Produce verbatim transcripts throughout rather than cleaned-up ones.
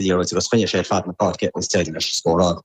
Liathróid agus choinnigh sé fad na páirce agus d'éirigh leis scóráil.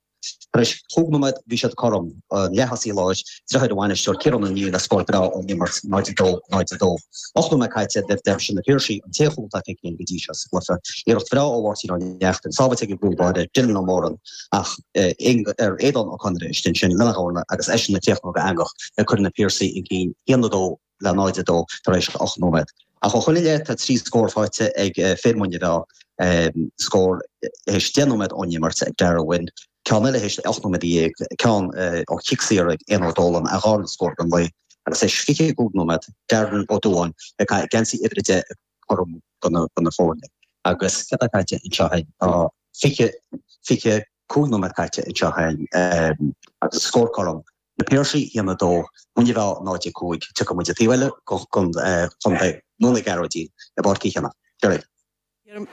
Tar éis chúig nóiméad bhí siad cothrom, leath-thosaí láir, deartháir an bhainisteoir Ciarán Ó Néill le scór breá ón imirt, náid a dó, náid a dó. Ocht nóiméad caite le deich sin na Piarsaigh an t-aon chúl atá feicthe go dtí seo sa gcluiche. Iarracht bhreá ó Mháirtín Ó Neachtain, sábháilte ag an gcúl báire, Dylan Ó Móráin, ach ar Aodán Ó Conaire istigh ansin lena dhorna agus eisean ag críochnú go heangach ag cur na Piarsaigh chun cinn haon a dó le náid a dó tar éis ocht nóiméad. Ach ó shoin i leith tá trí scór faighte ag fir Mhuine Mheá, scór théis deich nóiméad ón imirt ag Darragh Wynne, ceann eile théis ocht nóiméad dhéag, ceann ó chic saor ag Éanna Ó Dólann, a dhara scór den lae, agus théis fiche a cúig nóiméad, Darren Ó Dúáin ag caitheamh geansaí uimhir a deich ag cothromú do na foirne. Agus céard atá caite anseo féin? Tá fiche, fiche cúig nóiméad caite anseo féin agus scór cothrom. Na Piarsaigh, a haon a dó, Muine Mheá, náid a cúig. Tiocfaidh muid an taobh eile den chontae nó na Gearóidín i bPáirc Uí Chionnaith. Gerry.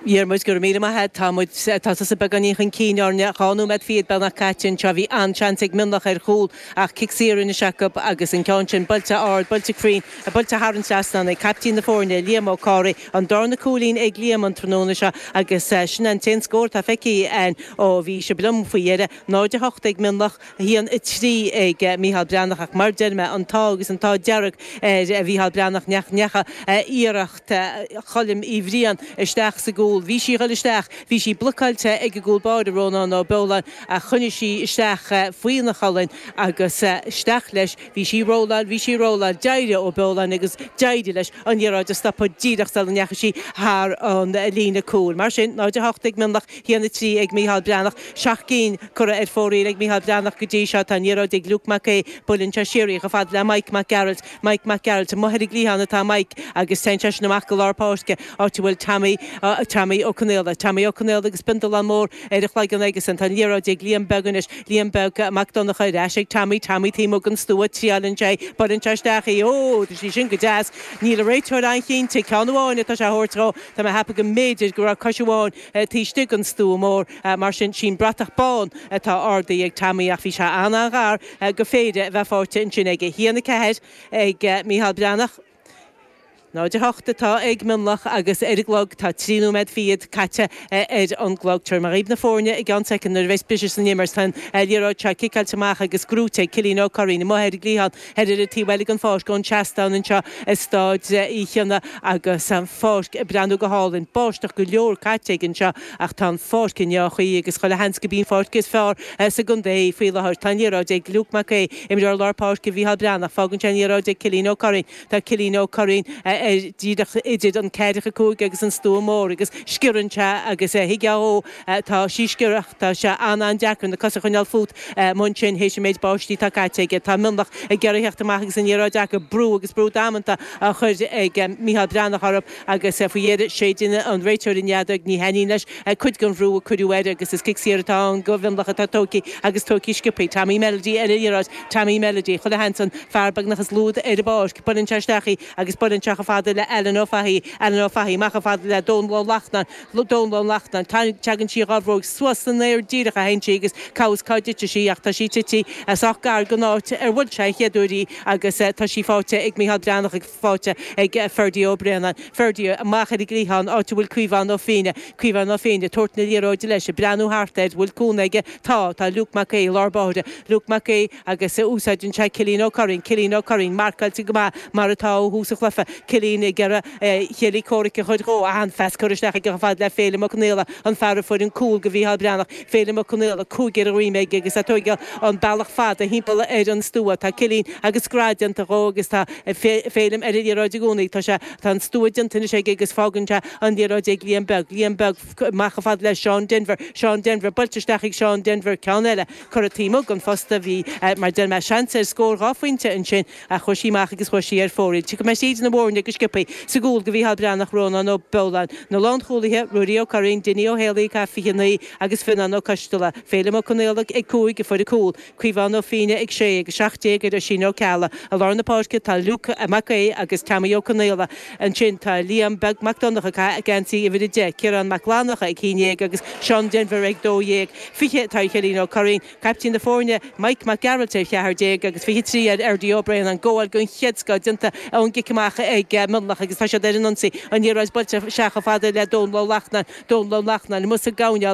Dhiarmuid, Go raibh míle maith agat. Tá muid, tá tusa beagáinín chun cinn orainne. Dhá nóiméad fichead beagnach caite anseo. Bhí an-seans ag Mionlach ar chúl ach cic saor anois acu agus an ceann sin buailte ard, buailte cruinn, buailte thar an trasnán ag caiptín na foirne, Liam Ó Comhraí. An darna cúilín ag Liam an tráthnóna seo agus sin an t-aon scór atá feicthe againn ó bhí sibh liom faoi dheireadh. náid a hocht ag Mionlach, a haon a trí ag Mícheál Breathnach ach mar deir mé, an t-ádh agus an t-ádh dearg ar Mhícheál Breathnach nach ndeachaigh iarracht Choilm Uí Bhriain isteach sa gcúl. Bhí sí ag dul isteach, bhí sí blocáilte ag an gcúl báire, Rónán Ó Beoláin, ach choinnigh sí isteach faoina cholainn agus isteach leis. Bhí sí ag rolláil, bhí sí ag rolláil, d'éirigh Ó Beoláin agus d'éirigh leis an liathróid a stopadh díreach sula ndeachaigh sí thar an líne cúil. Mar sin, náid a hocht ag Mionlach, a haon a trí ag Mícheál Breathnach. Seacht gcinn curtha ar fóraoil ag Mícheál Breathnach go dtí seo. Tá an liathróid ag Luke Mac Aodha. Buaileann sé siar í chomh fada le Mike Mac Gearailt. Mike Mac Gearailt amuigh ar an gcliathán atá Mike agus téann seisean amach go lár páirce, áit a bhfuil Tommy, Tommy Ó Conaola. Tommy Ó Conaola agus bindolán mór ar a chloigeann aigesan. Tá an liathróid ag Liam Beag anois. Liam Beag Mac Donncha ar ais ag Tommy. Tommy taobh amuigh den stua. Triaileann sé. Buaileann sé isteach í. Ó! Tá sí sin go deas. Níl an réiteoir an-chinnte. Ceann amháin atá sé a thabhairt dhó. Tá mé a cheapadh go mb'fhéidir go raibh cois amháin taobh istigh den stua mór. Mar sin, sí'n bratach bán atá ardaithe ag Tommy ach bhí sé an-an-ghar go péire a bheith faighte ansin aige. A haon a ceathair ag Mícheál Breathnach. náid a hocht atá ag Mionlach agus ar an gclog tá trí nóiméad fichead caite ar an gclog. Tabharfaidh mé dhaoibh na foirne i gceann soicind nuair a bheas briseadh san imirt. Tá an liathróid seo ciceáilte amach agus gnóite ag Cillian Ó Curraoin amuigh ar an gcliathán thoir ar an taobh eile den pháirc ón seastán anseo i Stáid Uí Chionnaith agus an pháirc ag breathnú go hálainn. Báisteach go leor caite aige anseo ach tá an pháirc i ndea-chaoi agus chuile sheans go b'í an pháirc is fearr sa gcontae í faoi láthair. Tá an liathróid ag Luke Mac Aodha, imreoir lár páirce Mhícheál Breathnach. Fágann sé an liathróid ag Cillian Ó Curraoin. Tá Cillian Ó Curraoin ar díreach idir an ceathracha cúig agus an stua mór agus sciorrann sé agus thuigfeá dhó, tá sí sciorrach, tá sé an-an-deacair na cosa a choinneáil fút amuigh ansin théis an méid báistí atá caite aige. Tá Mionlach ag iarraidh theacht amach agus an liathróid acu, brú agus brú damanta á chur ag Mícheál Breathnach orthu agus faoi dheireadh séideann an réiteoir an fheadóg, ní thaitníonn leis cuid den bhrú a cuireadh air agus is cic saor atá ann do Mhionlach atá tógtha agus tógtha sciobtha. Tommy Melody ar an liathróid, Tommy Melody, chuile sheans an fear beagnach is lú ar an bpáirc, buaileann sé isteach í agus buaileann sé chomh fada le Alan Ó Fathaigh, Alan Ó Fathaigh, amach chomh fada le Dónal Ó Lachtnáin, Dónal Ó Lachtnáin, Tagann sí dhá bhróig suas san aer díreach a théann sí agus cá bhfios cá dtitfidh sí ach tá sí tite sách gar don áit ar bhuail sé an chéad uair í agus tá sí faighte ag Mícheál Breathnach ag faighte ag Ferdie Ó Braonáin. Ferdie amach ar an gcliathán áit a bhfuil Caomhán Ó Fiaine, Caomhán Ó Fiaine, ag tabhairt na liathróide leis, ag breathnú thart air, bhfuil cúnamh aige? Tá, tá Luke Mac Aodha i lár báire, Luke Mac Aodha agus úsáideann sé Cillian Ó Curraoin, Cillian Ó Curraoin, marcáilte go maith mar atá ó thús an chluiche, Cillian ag iarraidh a chéile comhraic a chur dhó, an-phas curtha isteach aige chomh fada le Féilim Ó Conaola, an fear a fuair an cúl do Mhícheál Breathnach, Féilim Ó Conaola, cúig ar a dhroim aige agus é ag tóigeáil an bealach fada thimpeall ar an stua. Tá Cillian agus scread déanta dhó agus tá Féilim ar an liathróid i gcónaí. Tá sé, tá an stua déanta anois aige agus fágann sé an liathróid ag Liam Beag. Liam Beag amach chomh fada le Seán Denvir. Seán Denvir, buailte isteach ag Seán Denvir, ceann eile curtha taobh amuigh den phosta. Bhí, mar deir mé, seans ar scór dhá phointe ansin ach chuaigh sí amach agus chuaigh sí ar fóraoil. Tiocfaidh mé tríd na foirne go sciobtha. Sa gcúl do Mhícheál Breathnach, Rónán Ó Beoláin. Na lánchúlaithe, Ruairí Ó Curraoin, Dinny Ó Héalaí ag caitheamh fiche naoi agus Fionnán Ó Coisteala. Féilim Ó Conaola ag cúig a fuair an cúl, Caomhán Ó Fiaine ag sé agus seacht déag ar Oisín Ó Ceallaigh. I lár na páirce tá Luke Mac Aodha agus Tommy Ó Conaola. Ansin tá Liam Beag Mac Donncha ag caitheamh geansaí uimhir a deich, Ciarán Mac Fhlannchadha ag haon dhéag agus Seán Denvir ag dó dhéag. Fiche atá ar Chillín Ó Curraoin, caiptín na foirne, Mike Mac Gearailt ar cheathair déag agus fiche trí ar Fherdie Ó Braonáin. Gabháil den chéad scoth déanta ón gcic amach ag Mionlach agus tá siad ar an ionsaí an liathróid buailte isteach chomh fada le Dónal Ó Lachtnáin Dónal Ó Lachtnáin amuigh sa gcoirnéal